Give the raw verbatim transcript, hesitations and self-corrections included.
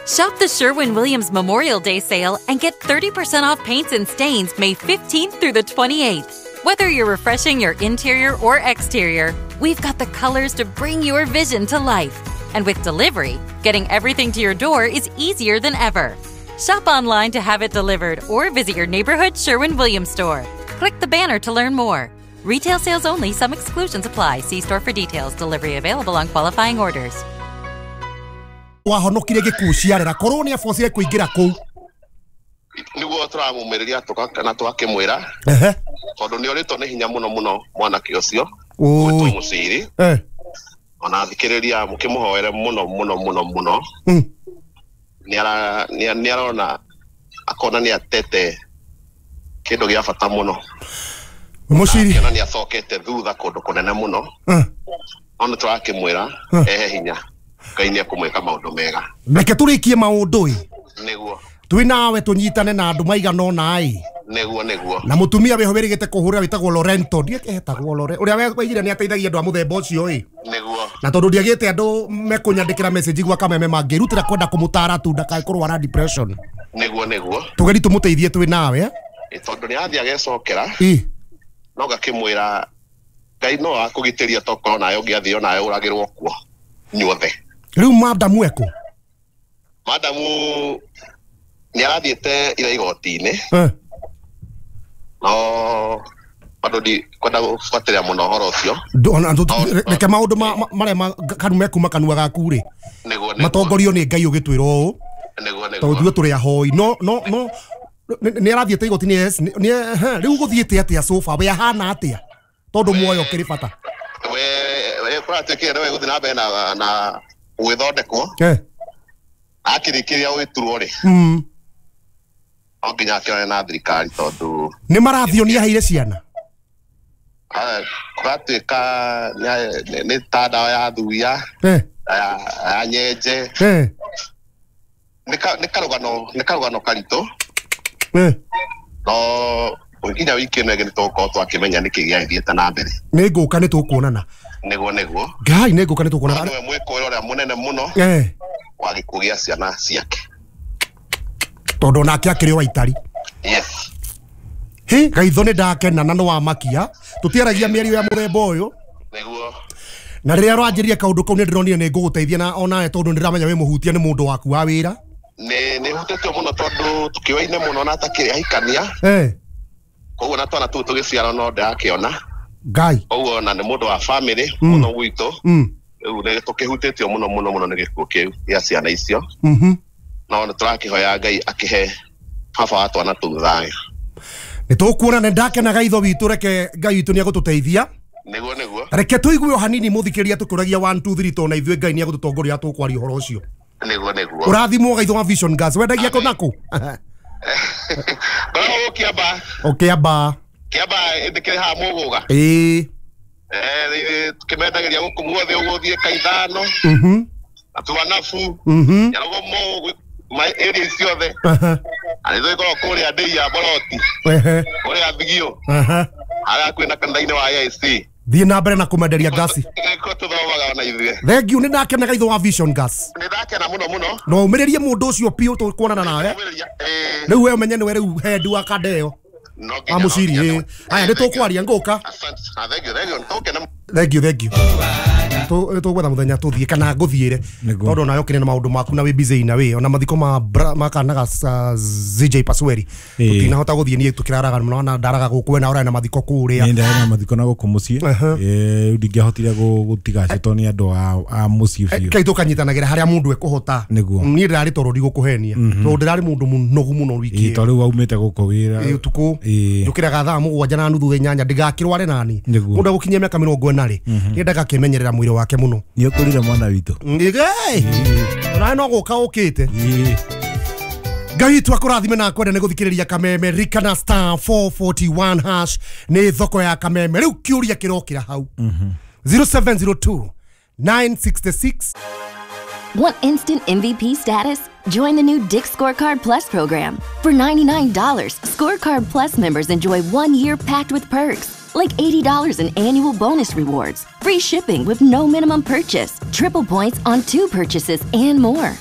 Shop the Sherwin-Williams Memorial Day sale and get thirty percent off paints and stains May fifteenth through the twenty-eighth. Whether you're refreshing your interior or exterior, we've got the colors to bring your vision to life. And with delivery, getting everything to your door is easier than ever. Shop online to have it delivered or visit your neighborhood Sherwin-Williams store. Click the banner to learn more. Retail sales only. Some exclusions apply. See store for details. Delivery available on qualifying orders. Wahonokire gĩkuũ ciarera korwo nĩ abocire kũingĩra kũu nĩguo tũramũmĩrĩria na twakĩmwĩra tondũ nĩ orĩtwo nĩ hinya mũno mũno mwanake ũcio gwĩtwo Mũciri ona thikĩrĩria mũkĩmũhoere mũno mũno mũno mũno nĩ arona akona nĩ atete kĩndũ gĩa bata mũno Mũciri akĩona nĩ acokete thutha kũndũ kũnene mũno ona tũrakĩmwĩra ehe hinya Ngai nĩ ekũmwĩka maũndũ mega reke tũrĩkie maũndũ ĩ nĩguo twĩ nawe tũnyitane na andũ maigana ũna ĩ nĩguo nĩguo na mũtumia wĩho wĩrĩgĩte kũhũrĩra wĩtagwo Lorento ndietagwo Lorento ũrĩa waigire nĩ ateithagia andũ a mũthemba ũcio ĩ nĩguo na tondũ ndiagĩte andũ mekũnyandĩkĩra message gwa Kameme mangĩrutĩra kwenda kũmũtara tu ndakae kũrwara depression nĩguo nĩguo tũgeri tũmũteithie twĩ nawe ĩ tondũ nĩ athiĩ agecokera ĩ no ngakĩmwĩra Ngai no akũgitĩria tokorwo nawe ũngĩathiĩ onawe ũragĩrwo kuo inyuothe rĩu madamu eko madamu nĩ arathiĩte ira igoti-inĩ no bado ndikwenda gũbuatĩrĩra mũno ũhoro ũcio reke maũndũ marĩa kanu mekuma kanua gaku rĩ matongorio nĩ Ngai ũgĩtwĩra ũũ tondũ ithuĩ tũrĩ ahoi no no no nĩ arathiĩte igoti-inĩ yes rĩu gũthiĩte atĩa sofa we ahana atĩa tondũ muoyo ũkĩrĩ bata we we kũratuĩkire nĩwe gũthiĩ na mbere na na gwĩthondekwo akĩrĩkĩria gwĩturwo rĩ no nginya akĩonane na thirikari tondũ nĩ marathio nĩ aheire ciana kũratuĩka nĩ ta ndawa ya thuya ya nyenje nĩ karũgano nĩ karũgano karitũ no nginya wiki ĩno ĩngĩ nĩ tũgũkorwo twakĩmenya nĩkĩ gĩathiĩte na mbere nĩ ngũka nĩ tũkuonana nĩguo nĩguo Ngai nĩ ngũka nĩ tũkuonana nĩwe mwĩkũĩro ũrĩa mũnene mũno wa gĩkuũ gĩa ciana ciake tondũ onake akĩrĩ o waitari yes hĩ Gaitho nĩ ndakena na nĩ wamakia tũtiaragia mĩario ya mũthemba ũyũ nĩguo na rĩrĩa ũranjĩria kaũndũ kau nĩ ndĩronire nĩ ngũgũteithia na onawe tondũ nĩ ndĩramenya wĩ mũhutia nĩ mũndũ waku wa wĩra nĩ nĩ hutĩtio mũno tondũ tũkĩoaine mũno na atakĩrĩ ahikania koguo na twana tũu tũgĩciarwo no ndĩrakĩona Ngai koguo na nĩ mũndũ wa family mũno gwitũ rĩu nĩ tũkĩhutĩtio mũno mũno mũno nĩ gĩkuũ kĩu gĩa ciana icio no nĩ tũrakĩhoya Ngai akĩhe baba wa twana tũu thayũ nĩ tũkuona nĩ ndakena Gaitho witũ reke Ngai witũ nĩ egũtũteithia nĩguo nĩguo reke tũigue o hanini mũthikĩrĩria tũkĩũragia one two three tondũ na ithuĩ Ngai nĩ egũtũtongoria tũkwaria ũhoro ũcio nĩguo nĩguo ũrathimwo Gaitho wa Vision Gas wendagia kũ nakũ ngoragwo Kĩamba o Kĩamba Kĩamba ndĩkĩrĩ haha Mũgũga ĩĩ eh tũkĩmendagĩria gũkũ guothe ũgũthiĩ Kaithano na Tuanabu Nyarugomo area ciothe na nĩ tũgĩkoragwo kũrĩa ndĩi ya Boroti kũrĩa Thigio harĩa kwĩna kanitha-inĩ wa A I C thiĩ na mbere na kũmenderia ngasi nĩkuo tũthomaga ona ithuĩ thengiũ nĩ ndakena Gaitho wa Vision Gas nĩ ndakena mũno mũno no ũmĩrĩrie mũndũ ũcio biũ tũkuonana nawe rĩu we ũmenye nĩwe rĩu head wa kanda ĩyo wa Mũciri ĩ haya nĩ tũkwaria ngũka thengiũ thengiũ tũgwetha mũthenya tũthiĩ kana ngũthiĩre tondũ onawe ũkĩrĩ na maũndũ maku na wĩ busy na wĩ ona mathiko ma ma kana ga Z J Pasweri tũtinahota gũthiĩ niĩ tũkĩraraga mũno na ndaraga gũkũ we na ũrarĩ na mathiko kũrĩa nĩ ndarĩ na mathiko na gũkũ mũciĩ eh rĩu ndingĩahotire gũtiga acio tondũ nĩ andũ a mũciĩ biũ kai tũkanyitanagĩra harĩa mũndũ ekũhota niĩ ndĩrarĩ toro ndigũkũhenia tondũ ndĩrarĩ mũndũ mũnogu mũno wiki ĩyo tondũ rĩu waumĩte gũkũ wĩra ũtukũ njũkĩraga thaa mũgwanja na nuthu inyanya ndigakĩrware nani mũndũ egũkinyia mĩaka mĩrongo ĩna rĩ nĩendaga akĩmenyerera mwĩrĩ wake mũno nĩ ũkũrire mwana witũ onawe no gũka ũkĩte Ngai witũ akũrathime na akwende nĩ gũthikĩrĩria Kameme rikana star four forty-one hash nĩ thoko ya Kameme rĩu kĩũria kĩrokĩra hau zero seven zero two nine six six. Want instant M V P status? Join the new Dick's Scorecard Plus program. For ninety-nine dollars, Scorecard Plus members enjoy one year packed with perks, like eighty dollars in annual bonus rewards, free shipping with no minimum purchase, triple points on two purchases, and more.